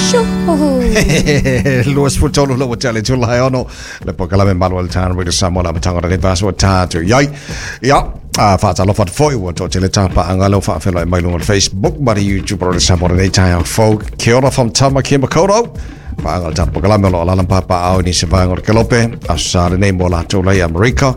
23 la ua tea le itula e 6 le polokalame malu o le Town Radio Samoa le amataga o lenei vaiaso ua tatou i ai. Ia, a faatalofa atu foi ua toatele tapaaga lea ua faafeiloai mai luga o le Facebook ma le YouTube o le Samoa lenei taeao fou. Kia ora from Tamaki Makaurau. Paaga o le tatou polokalame o lo o alaala ma papaaao i nisi vaega o le Kelope, Aso Sa lenei mo latou la i Amerika,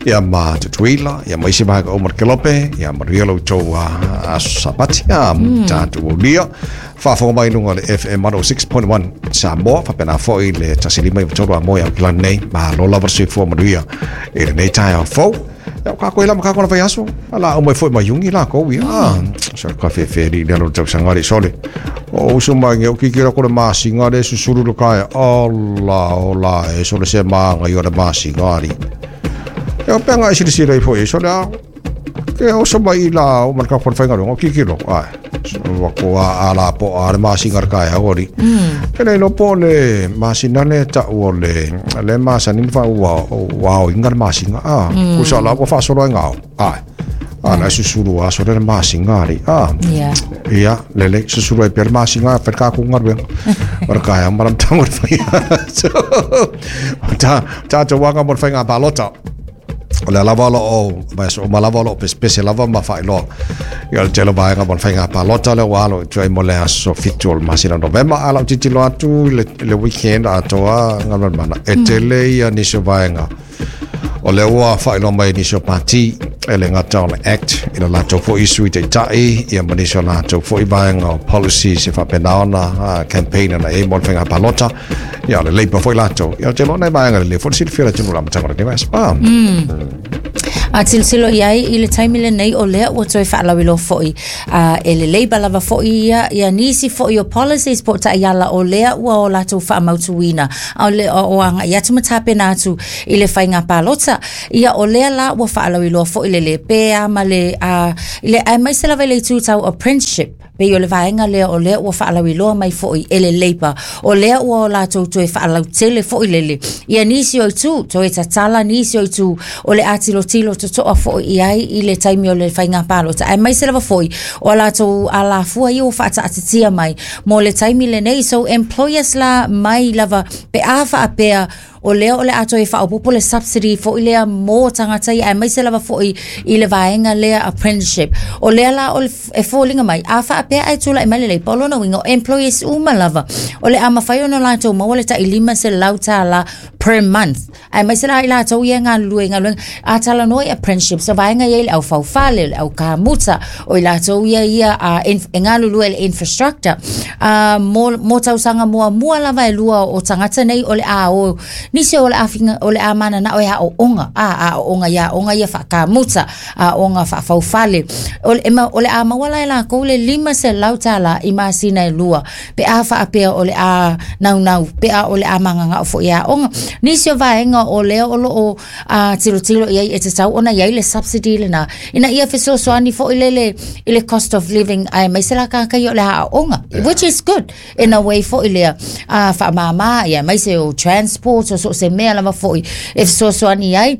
ia ma Tutuila, ia ma isi vaega uma o le Kelope, ia manuia lo outou aso Sapati, ia tatou aulia. Faafofoga mai i luga o le FM 106.1 Samoa, faapena foi le 105.3 Amoe Aukilani nei, malo lava le soifua manuia i lenei taeao fou. Ia, o kākou e lama kākou na vaiaso, a la au mai foi mai Iuni lākou, ia. So, ka whewhe li lea lo tausaga li sole. O uso mai nge o kiki la kore masinga le susulu le kai. Ola, ola, e sole se maanga i o le masinga li. E o penga e silisila i foi, sole a, ke oso mai i la o man ka kon whainga o kiki lo, ai. Ua ko a la po a le masinga le kai au ori. Ke le lo po le masina le ta o le le masani ni fa ua ua o inga le masinga a. Kusa la ua faasolo ai ngao. Ai. A na susulu a sole le masinga ari. A. Ia, lele susulu ai pea le masinga fa ka ku ngaruenga. Ora kai a maram tango le whai. Ta ta te wanga mo le whainga palota. O lea lava o lo o vaiaso uma lava o lo o pesepese lava ma faailoa i o le tele o vaega mo le faiga palota lea ua alo i tua i mo le aso 7 o le masina o Novema. A lau tilotilo atu i le, le weekend atoa Galumalemana, e tele ia nisi o vaega o lea ua faailoa mai e nisi o pati e le gata o le Act i le latou foi sui taitai ia ma nisi o latou foi vaega o policies e faapena ona campaign ana i ai mo le faiga palota. Ia, o le Labour foi latou. Ia, ou te iloa nai vaega lelei foi le silafia o le atunuu i le amataga o lenei vaiaso. Ah. A tilotilo i ai i le taimi lenei o lea ua toe faalauiloa foi e le Labour lava foi ia, ia nisi foi o policies po o taiala o lea ua o latou faamautuina a o le o agai atu ma tapena atu i le faiga palota. Ia o lea la ua faalauiloa foi le lepea ma le, i le aemaise lava i le itu tau apprenticeship. Pei o le vaega lea o lea ua faalauiloa mai foi e le Labour, o lea ua o latou toe faalautele foi lele ia nisi o itu, toe tatala nisi o itu o le a tilotilo totoa foi i ai i le taimi o le faiga palota, aemaise lava foi o a latou alafua ia ua faataatitia mai mo le taimi lenei. So employers la mai lava pe a faapea O lea o le a toe faaopoopo le subsidy foi lea mo tagata ia aemaise lava foi i le vaega lea apprenticeship. O lea la o le, e foliga mai, a faapea ae tulai mai le Labour, o lona uiga o employees uma lava o le a mafai ona latou maua le tai $500 per month. Aemaise la i latou ia e galulue i galuega, a talanoa i apprenticeship, so vaega ia i le au faufale, le au kamuta, o i latou ia ia a, e galulue i le infrastructure. A, mo, mo tausaga muamua lava e lua o tagata nei o le a o, nisi o le a, finga, o le a mananao e aooga, a, aooga i aoga ia faakamuta, aoga faafaufale. O le, o le a maua la e lakou le $500 i masina e lua, pe a faapea o le a naunau, pe a o le a mananao foi e aoga. Nisi o vaega o lea o lo o a tilotilo i ai e tatau ona i ai le subsidy lena ina ia fesoasoani foi lele i le cost of living aemaise la tagata ia o le aoaoga which is good in a way foi lea a faamama ia aemaise o transport o so o se mea lava foi e fesoasoani ai.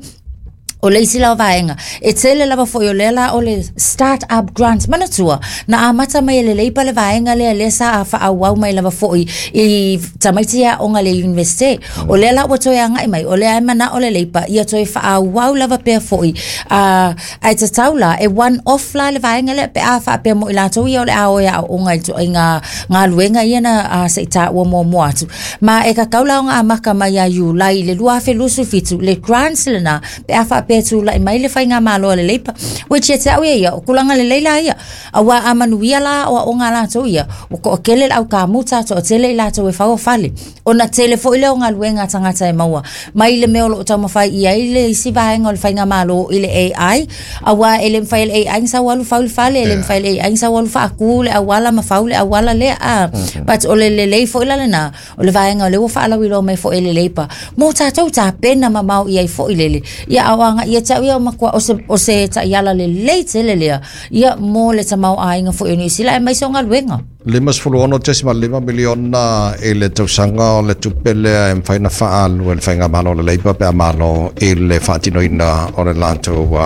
O le isi la o vaega, e tele lava foi o lea la o le start up grant. Manatua, na amata mai e le Labour le vaega lea, lea sa faaauau mai lava foi i tamaiti e aoga i le Iunivesite. O lea la ua toe agai mai, o lea e manao le Labour ia toe faaauau lava pea foi, a, ae tatau la, e one off la le vaega lea pe a faapea mo i latou ia o le a o e aooga i ituaiga galuega ia na a, se i taua muamua atu. Ma e tatau la ona amata mai ia Iulai i le 2027 le grants lena pe a faapea e tulai mai le faigamalo a le Labour, which ia te au ia ia, o tulaga lelei la ia. Aua a manuia la aoaoga a latou ia, ua toatele le au kamuta, toatele i latou e fau fale. Ona tele foi lea o galuega a tagata e maua mai le mea o lo o taumafai i ai le isi vaega o le faigamalo i le AI, aua e le mafai e le AI ona sau alu fau le fale, e le mafai e le AI ona sau alu faatu le auala ma fau le auala lea. A, but o le lelei foi la lena, o le vaega o lea ua faalauiloa mai foi e le Labour, mo tatou tapena mamao i ai foi lele. Ia, a o agai tulaga ia te au ia o matua o se taiala lelei tele lea ia mo le tamaoaiga foi o Niu Sila aemaise o galuega. 56.5 miliona i le tausaga o le tupe lea e mafai ona faaalu e le faigamalo o le Labour pe a malo i le faatinoina o le latou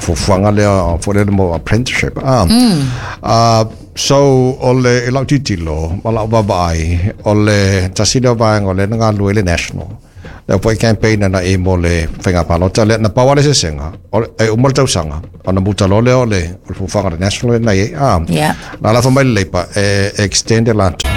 fuafuaga lea foi lele mo apprenticeship. So o le i lau tilotilo ma lau vaavaai, o le tasi lea o vaega o lea na galulue ai le National. Lea foi campaign ana i mo le faiga palota lea, na pau lava le eseesega, e uma le tausaga, ona muta loa lea o le fuafuaga a le National lea na i ai. Na alafa mai le Labour e extend e latou.